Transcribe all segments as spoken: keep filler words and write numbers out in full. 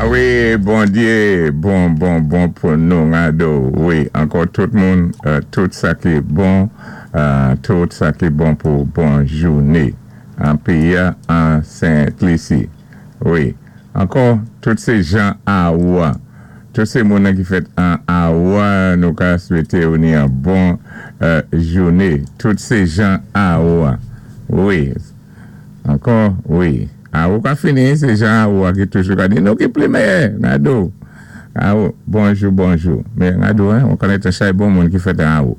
A wi, Bondyé, bon, bon, bon pou nou, Rado. Wi, ankò tout moun, euh, tout sa ki bon, euh, tout sa ki bon pou bon jouné. An péyi an Sent Lisi. Wi, ankò, tout sé jan Awoua. Tout sé moun ki fèt an Awoua, nou ka swété ou ni an bon euh, jouné. Tout sé jan Awoua. Wi, ankò, wi. Awou ka fini, sé jan Awoua ki toujou ka di, nou ki pli mèyè, Rado. Awou, bonjou, bonjou. Men Rado, hein, on konnèt an chay bon moun ki fèt an Awou.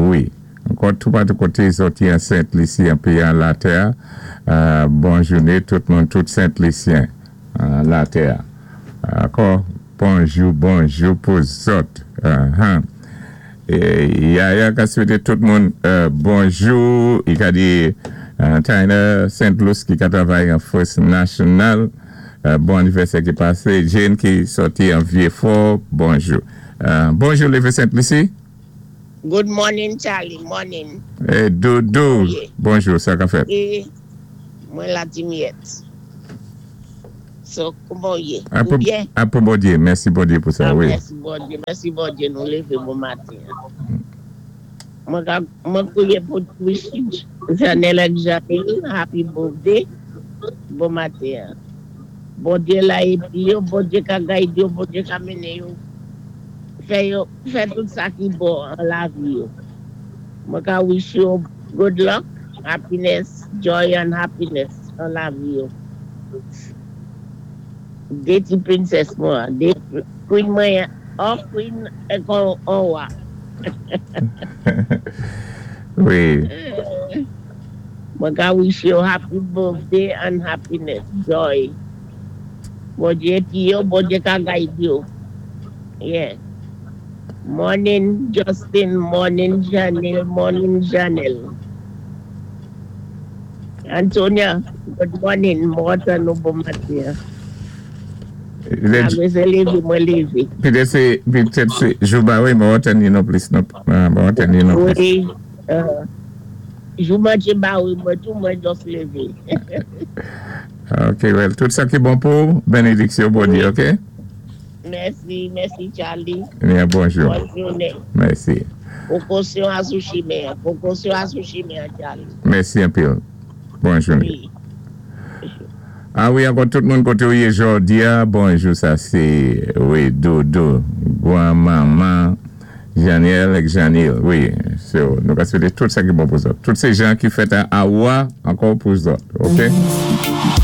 Wi. Ankò tout patou koté sòti an Sent Lisi, an péyi an latè, euh, bon jouné, tout moun, tout Sent Lisyen, an latè. Ankò, bonjou, bonjou pou zòt. Uh-huh. É Yaya ka swété tout moun euh, bonjou. I ka di euh, Tyler Saint Louis ki ka travay an First National. Euh, bon anivèsè ki pasé. Jane ki sòti an Vieux-Fort. Bonjou. Euh, bonjou, Lévé Saint-Lucie. Good morning, Charlie. Morning. É Dodo. Wi. Bonjou, sa ka fèt? É mwen la Dimiette. So, kouman ou yé? A Ou pou, byen? A pou Bondyé. Mèsi Bondyé pou sa, Ah, wi. mèsi Bondyé. Mèsi Bondyé nou lévé bon maten. Mwen ka- mwen kwiyé pou wish Janelle ak Janelle happy birthday. Bon maten. Bondyé la épi yo, Bondyé ka guide yo, Bondyé ka mennen yo. Fè yo, fè tout sa ki bon an lavi yo. Mwen ka wish yo good luck, happiness, joy and happiness an lavi yo. Dé ti princess mwen, dé queen mwen, an queen é kon an wa. Wi. Mwen ka wish yo happy birthday and happiness, joy. Bondyé épi yo, Bondyé ka guide yo. Yeah. Morning, Justin. Morning, Janelle. Morning, Janelle. Antonia, good morning. Mwen nou bon maten. Le- Ah, mwen sé lévé, mwen lévé. Petèt sé, petèt sé, jou ba wi, mwen tann non plis, non, mwen tann non plis. Wi. Euh, jou manje ba wi, mwen tou mwen just lévé. Ok, well, tout sa ki bon pou, bénédiksyon Bondyé, ok? Mèsi, mèsi Charlie. Byen, bonjou. Bòn jounen. Mèsi. Pwékosyon a sou chimen. Pwékosyon a sou chimen, Charlie. Mèsi anpil. Bon jounen. Wi. A wi, ankò tout moun koté ou yé jòdi a, bonjou, sa sé, wi, Dodo, gwan manman, Janiel ek Janil, wi, so, nou ka swété tout sa ki bon pou zòt. Tout sé jan ki fèt an Awoua, ankò pou zòt, ok?